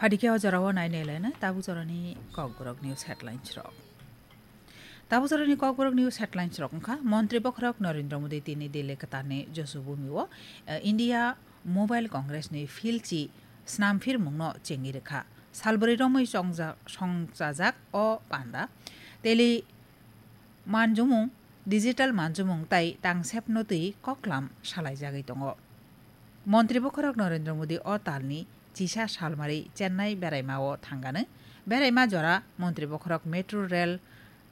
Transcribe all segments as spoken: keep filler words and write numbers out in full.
Adike o jorao nainai laina tabuk jorani Kokborok news headlines rok. Tabuk jorani Kokborok news headlines rok wngkha, Montri bokhorok Narendra Modi tini Delhi kwtalni Josubhumi o, eh, India Mobile Congress ni philchi snamphirmungno chengwi rwkha. Salbrwi romwi chongja-, songchajak o panda. Teli manjumung, digital manjumung tai tangsepno twi koklam salaijagwi tongo. Montri bokhorok Narendra Modi o talni chisa salmari Chennai beraima o thangano. Beraima jora Montri bokhorok metro rail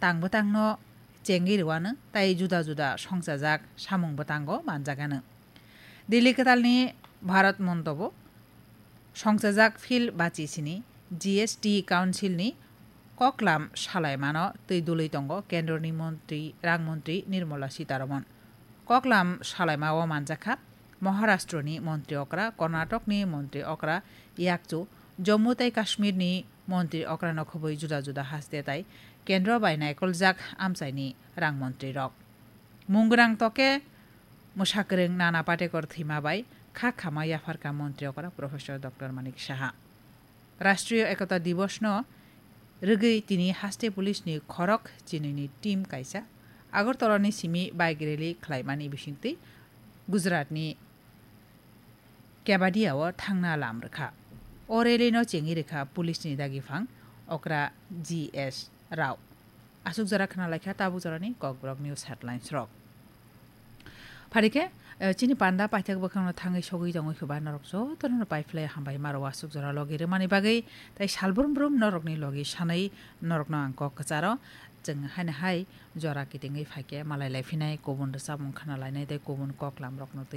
tang bwtangno chengwi rwano tai juda juda songchajak samung bwtango manjagano. Delhi kwtalni Bharat Mondobo songchajak phil bachi sini G S T Council ni koklam salaimano twi dului tongo Kendroni Montri, Rang Montri Nirmala Sitaraman. Koklam salaima o manjakha Maharashtra ni Montri Okra, Karnatokni Montri Okra Yakchu, Jammu tai Kashmir ni Montri Okra no khobwi juda juda haste tai Kendro bai naikoljak amchaini Rang Montri rok. Munggrang toke mwsakwrwng Nana Patekar thwima bai kha khama yapharkha Montri Okra Professor Doctor Manik Saha. Rashtriya Ekota Dibosh no rwgwi tini haste police ni khorok chinwi ni team kaisa Agartala ni simi bike rally khlaimani bisingtwi Gujarat ni Kevadia o thangna lam rwkha. O rally no chengwi rwkha police ni dagiphang okra G S Rao. Aswk jora khna laikha tabuk jorani Kokborok news headlines rok. Pharikhe, eh, chini panda paithak bwkhakno thangwi sogwi tongwi khe ba norok jotono pai phlai hambai maro aswk jora logi rwmani bagwi, tai salbrum brum norokni logi sanwi norokno ang kok kwcharo chwng haino hai jora kitingwi phaikhe malai lai phinai kubun rwchapmung khna lainai tei kubun koklam rokno twi